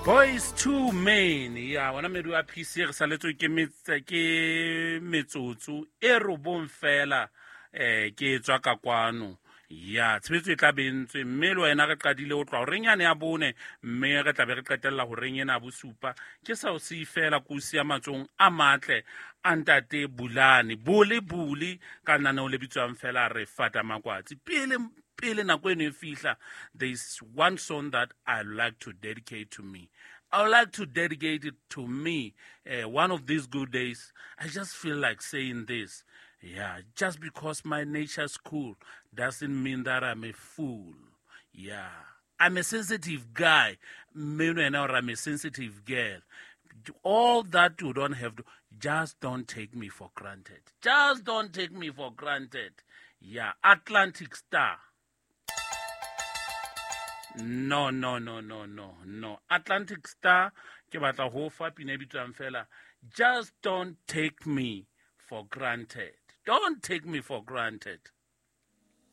Boys to Men ya bona medu a PC re saletswe ke ke metsotso e robong fela. Ke tswa ka kwano ya tshebetso e tla bentswe, mme le wena re qadile ho tloha horeng yane ya 4, mme re tla be re qetella horeng ena 7. Ke sa o siye fela, ko o siya matsohong a matle a ntate Bulane Bole Bule ka lenaneo le bitswang fela Re Fata Makwatsi. Pele nako eno e fihla, there is one song that I like to dedicate to me. I would like to dedicate it to me. One of these good days, I just feel like saying this. Yeah, just because my nature's cool doesn't mean that I'm a fool. Yeah, I'm a sensitive guy. Mme or I'm a sensitive girl. All that you don't have to, just don't take me for granted. Just don't take me for granted. Yeah, Atlantic Star. No, no, no, no, no, no. Atlantic Star, ke batla ho fa pina e bitswang fela, Just Don't Take Me for Granted. Don't take me for granted.